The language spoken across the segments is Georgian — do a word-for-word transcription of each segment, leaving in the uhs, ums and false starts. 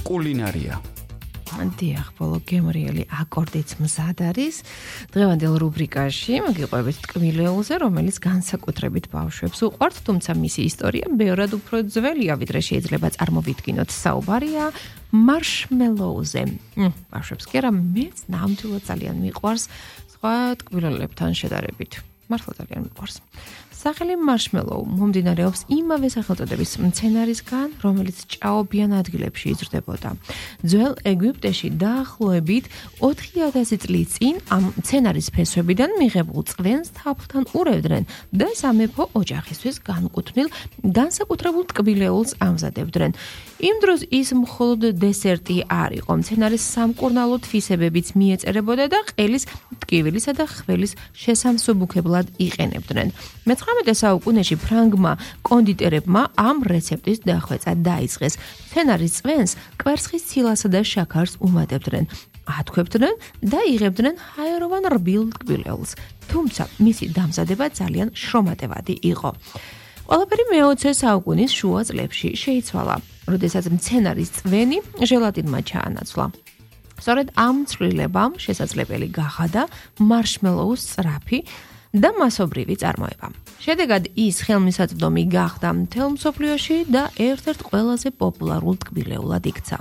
კულინარია. დიახ, ბოლო გემრიელი აკორდიც მზად არის. დღევანდელ რუბრიკაში მოგიყვებით ტკბილეულზე, რომელიც განსაკუთრებით ბავშვებს უყვართ, თუმცა მისი ისტორია ბევრად უფრო ძველია, ვიდრე შეიძლება წარმოვიდგინოთ. საუბარია მარშმელოუზე. ბავშვებს კი არა, მეც ნამდვილად ძალიან მიყვარს სხვა ტკბილეულებთან შედარებით. მართლა ძალიან მიყვარს. სახელი მარშმელოუ მომდინარეობს იმავე სახელწოდების მცენარისგან, რომელიც ჭაობიან ადგილებში იზრდებოდა. ძველ ეგვიპტეში დაახლოებით ოთხი ათასი წლის წინ ამ მცენარის ფესვებიდან მიღებულ წყლს თაფლთან ურევდნენ და სამეფო ოჯახისთვის განკუთვნილ განსაკუთრებულ ტკბილეულს ამზადებდნენ. იმ დროს ის მხოლოდ დესერტი არ იყო, მცენარის სამკურნალო თვისებებიც მიეწერებოდა და ყელის, ტკივილისა და ხველის შესამსუბუქებლად იყენებდნენ. მეცხრამეტე საუკუნეში ფრანგმა კონდიტერებმა ამ რეცეპტის დახვეწა დაიწყეს. მცენარის წვენს კვერცხის ცილასა და შაქარს უმატებდნენ, ათქვებდნენ და იღებდნენ ჰაეროვან რბილ ტკბილეულს. თუმცა მისი დამზადება ძალიან შრომატევადი იყო. ყველაფერი მეოცე საუკუნის შუა წლებში შეიცვალა, როდესაც მცენარის წვენი ჟელატინმა ჩაანაცვლა. სწორედ ამ ცვლილებამ შესაძლებელი გახადა მარშმელოუს სწრაფი და მასობრივი წარმოება. შედეგად ის ხელმისაწვდომი გახდა მთელ მსოფლიოში და ერთ-ერთ ყველაზე პოპულარულ ტკბილეულად იქცა.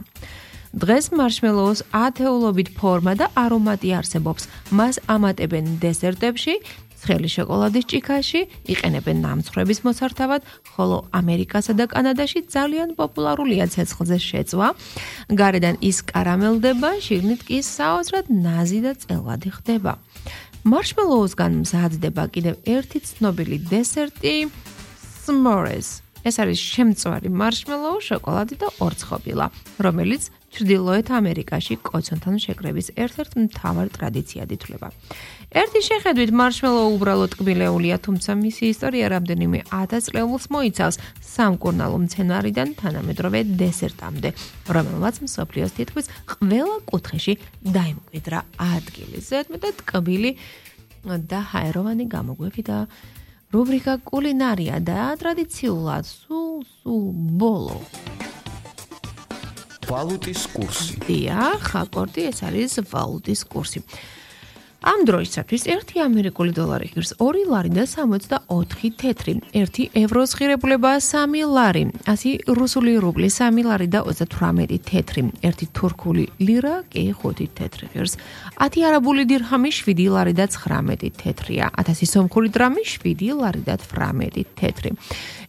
დღეს მარშმელოუს ათეულობით ფორმა და არომატი არსებობს. მას ამატებენ დესერტებში, ცხელი შოკოლადის ჭიქაში, იყენებენ ნამცხრების მოსართავად, ხოლო ამერიკასა და კანადაში ძალიან პოპულარულია ცეცხლზე შეწვა. გარედან ის კარამელდება, შიგნით კი საოცრად ნაზი და წელვადი ხდება. მარშმელოუსგან მზადდება კიდევ ერთი ცნობილი დესერტი s'mores. ეს არის შემწვარი მარშმელოუ, შოკოლადი და ორცხობილა, რომელიც ჩრდილოეთ ამერიკაში კოცონთან შეკრების ერთ-ერთ მთავარ ტრადიციად ითვლება. ერთი შეხედვით მარშმელოუ უბრალოდ ტკბილეულია, თუმცა მისი ისტორია რამდენიმე ათას წლეულს მოიცავს სამკურნალო მცენარიდან თანამედროვე დესერტამდე, რომელმაც მსოფლიოს თითქმის ყველა კუთხეში დაიმკვიდრა ადგილი. ზედმეტად ტკბილი და ჰაეროვანი გამოგვევი და რუბრიკა კულინარია და ტრადიციულად სულ სულ ბოლო. ვალუტის კურსი. დიახ, აკორდი, ეს არის ვალუტის კურსი. ამ დროისათვის ერთი ამერიკული დოლარი ღირს ორი ლარი და სამოცდაოთხი თეთრი, ერთი ევროს ღირებულება სამი ლარი, ასი რუსული რუბლი სამი ლარი და ოცდათვრამეტი თეთრი, ერთი თურქული ლირა კი ხუთი თეთრი ღირს, ათი არაბული დირჰამი შვიდი ლარი და ცხრამეტი თეთრია, ათასი სომხური დრამი შვიდი ლარი და თვრამეტი თეთრი.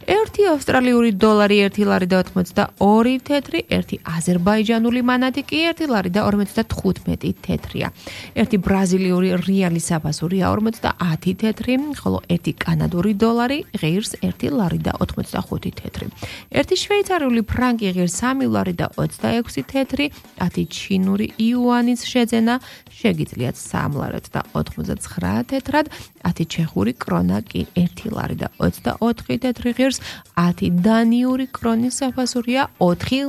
ერთი ავსტრალიური დოლარი ერთი ლარი და ოთხმოცდაორი თეთრი, ერთი აზერბაიჯანული მანატი კი ერთი ლარი და ორმოცდათხუთმეტი თეთრია. ერთი ბრაზილიური რეალი საფასურია ორმოცდაათი თეთრი, ხოლო ერთი კანადური დოლარი ღირს ერთი ლარი და ოთხმოცდახუთი თეთრი. ერთი შვეიცარიული ფრანკი ღირს სამი ლარი და ოცდაექვსი თეთრი, ათი ჩინური იუანის შეძენა შეგიძლიათ სამ ლარად და ოთხმოცდაცხრა თეთრად, ათი ჩეხური კრონა კი ერთი ლარი და ოცდაოთხი თეთრი ღირს, ათი დანიური კრონის საფასურია ოთხი